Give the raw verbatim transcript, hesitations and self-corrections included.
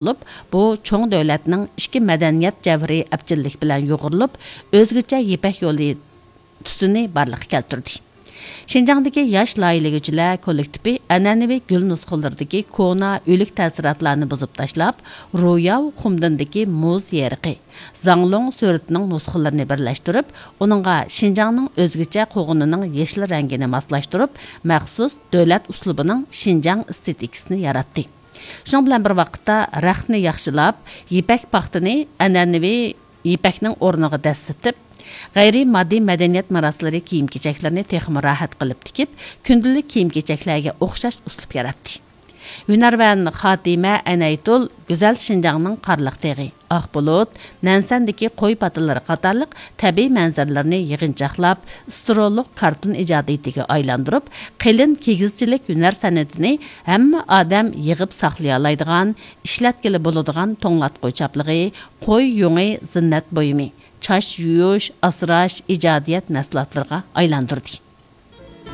بولۇپ، بۇ چوڭ دۆلەتنىڭ ئىچكى مەدەنىيەت جەۋھىرى ئەپچىللىك بىلەن يۇغۇرۇلۇپ، ئۆزگىچە يىپەك يولى تۈسىنى بارلىققا كەلتۈردى. شىنجاڭدىكى ياش لايىھىلىگۈچىلەر كوللېكتىپى ئەنئەنىۋى گۈل نۇسخىلىرىدىكى كونا ئۆلۈك تەسىراتلارنى بۇزۇپ تاشلاپ، روياۋ خۇمدىندىكى مۇز يېرىقى، زاڭلۇڭ سۈرىتىنىڭ نۇسخىلىرىنى بىرلەشتۈرۈپ، ئۇنىڭغا شىنجاڭنىڭ ئۆزگىچە قوغۇنىنىڭ يېشىل رەڭگىنى ماسلاشتۇرۇپ، مەخسۇس دۆلەت ئۇسلۇبىنىڭ شىنجاڭ ئېستېتىكىسىنى ياراتتى. شۇنىڭ بىلەن بىر ۋاقىتتا، رەختنى ياخشىلاپ، يىپەك پاختىنى ئەنئەنىۋى يىپەكنىڭ ئورنىغا دەسسىتىپ، غەيرىي ماددىي مەدەنىيەت مىراسلىرى كىيىم-كېچەكلىرىنى تېخىمۇ راھەت قىلىپ تىكىپ، كۈندىلىك كىيىم-كېچەكلەرگە ئوخشاش ئۇسلۇب ياراتتى. ھۈنەرۋەن خاتىمە ئەنەيتۇل گۈزەل شىنجاڭنىڭ قارلىق تېغى، ئاق بۇلۇت، نەنسەندىكى قوي پاتىلىرى قاتارلىق تەبىئىي مەنزىرىلىرىنى يىغىنچاقلاپ، ئىسترولۇق كارتون ئىجادىيىتىگە ئايلاندۇرۇپ، قېلىن كىگىزچىلىك ھۈنەر سەنئىتىنى ھەممە ئادەم يىغىپ ساقلىيالايدىغان، ئىشلەتكىلى بولىدىغان توڭلاتقۇ چاپلىقى، قوي يۇڭى زىننەت بۇيۇمى، چاچ يۇيۇش، ئاسراش، ئىجادىيەت مەھسۇلاتلىرىغا ئايلاندۇردى.